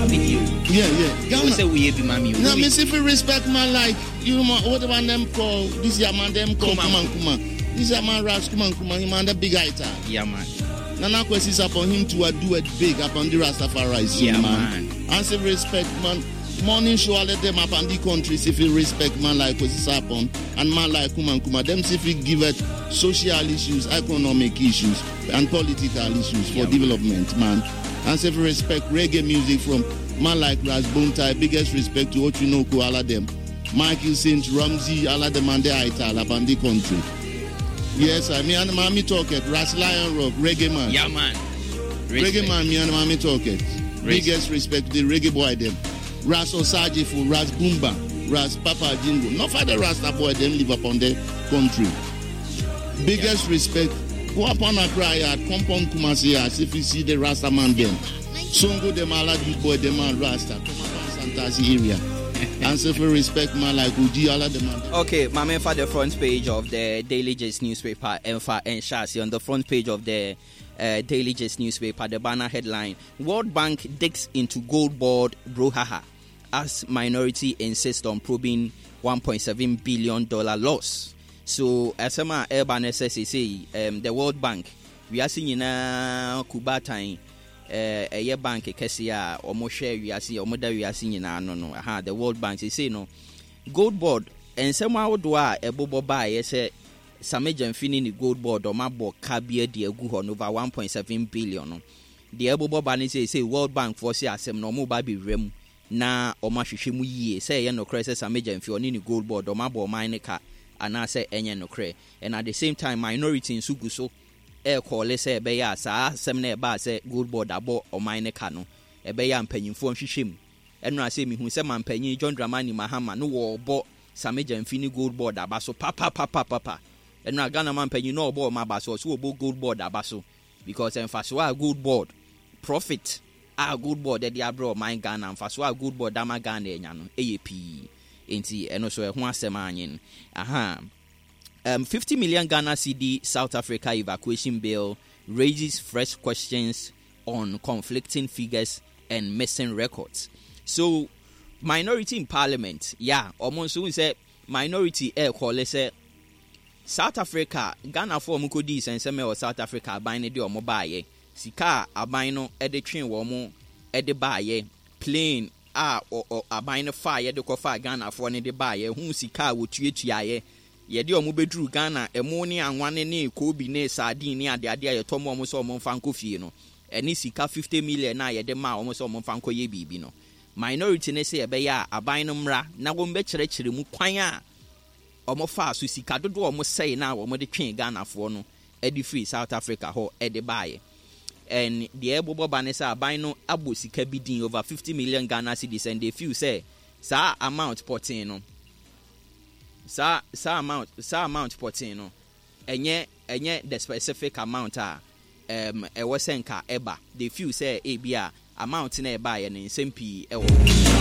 medi o. Yeah. Ɛwɔ sɛ woyɛ bi ma me o. Na me si fi respect man like you know what the man them call this year man them call Kuma Kuma. This year man Ras Kuma Kuma, he man the big item. Yeah man. Nana Kwesi upon him to do it big upon the Rastafari Yeah man. And say respect man. Morning show all of them up on the country if you respect man like Kwesi Sarpong and man like Kuma Kuma. Them see if you give it social issues, economic issues, and political issues for development, man. And say if you respect reggae music from man like Ras Buntai, biggest respect to Ochinoko, all of them. Michael Saint, Ramsey, all of them and the Ital up on the country. Yes, I me and mommy talk it. Ras Lion Rock, reggae man. Yeah, man. Reggae man, me and mommy talk it. Biggest respect to the reggae boy them. Ras Osajifu, Ras Boomba, Ras Papa Jingo. Not for the Rasta boy them live upon the country. Biggest respect. Go upon Accra yard, come upon Kumasi yard, if you see the Rasta man them. Songo them all youth boy them and Rasta. Come upon Santasi area. And so for respect man like Uji all of them. Okay, my man for the front page of the Daily Gist newspaper, Enfa and Shasi on the front page of the Daily Gist newspaper, the banner headline: World Bank digs into gold board brouhaha as minority insists on probing $1.7 billion loss. So, asɛm a ɛreba no sɛ seesei the World Bank, wiase nyinaa kubatan, ɛyɛ bank kɛseɛ a wɔhwɛ wiase, wɔda wiase nyinaa ano no, aha, the World Bank seesei no, Gold Board, nsɛm ahodoɔ a ɛbobɔ baeɛ sɛ Sammy Gyamfi ne ne Gold Board wɔabɔ ka bi adi agu hɔ no over 1.7 billion no, deɛ ɛbobɔ ba ne sɛ seesei World Bank foɔ se asɛm no wɔreba abɛwura mu na wɔahwehwɛ mu yie sɛ ɛyɛ nokorɛ sɛ Sammy Gyamfi ɔne ne Gold Board wɔabɔ ɔman no ka anaasɛ ɛnyɛ nokorɛ. And at the same time minority nso gu so ɛrekɔɔle sɛ ɛbɛyɛ a saa asɛm no a ɛbaa sɛ Gold Board abɔ ɔman no ka no ɛbɛyɛ a mpanyinfoɔ nhwehwɛ mu. Ɛnora sɛ mehu sɛ mampanyin John Dramani Mahama no wɔrebɔ Sammy Gyamfi ne Gold Board aba so papapapapa. Ɛnora Ghana mampanyin no ɔrebɔ wɔn aba so, ɔso wɔbɔ Gold Board aba so because mfasoɔ a Gold Board profit a Gold Board de abrɛ ɔman Ghana, mfasoɔ a Gold Board ama Ghana anya no ɛyɛ pii. Enti ɛno so ɛho asɛm anyen. Aha. 50 million Ghana cedi South Africa evacuation bill raises fresh questions on conflicting figures and missing records. So, minority in parliament, yeah, ɔmo nso n sɛ minority ɛɛkɔle sɛ South Africa, Ghana fo ɔmo kɔdii sɛnsɛm wɔ South Africa aban no de ɔmo baayɛ, sika a aban no de twe wɔn de baayɛ, plane a aban no faayɛ de kɔfaa Ghanafoɔ no de baayɛ, ho sika a wɔtuatuaeɛ, yɛde ɔmo bɛduru Ghana, ɛmo ne anwane ne koobi ne sardine ne adeade a yɛtɔ mu ɔmo sɛ ɔmo mfa nkɔ fie no, ɛne sika 50 million a yɛde maa ɔmo sɛ ɔmo mfa nkɔyɛ biribi no. Minority ne sɛ ɛbɛyɛ a aban no mmra na wɔn bɛkyerɛkyerɛ mu kwan a ɔmo faa so sika dodoɔ a ɔmo sɛe na ɔmo de twee Ghanafoɔ no de firi South Africa hɔ de baeɛ. And deɛ ɛbobɔ ba ne sɛ aban no abɔ sika bi din over 50 million Ghana cedis, and they feel sɛ saa amount pɔtee no, saa amount pɔtee no ɛnyɛ the specific amount a ɛwɔ sɛ nka ɛba. They feel sɛ ebi a amount na ɛbaeɛ no nsɛm pii ɛwɔ hɔ.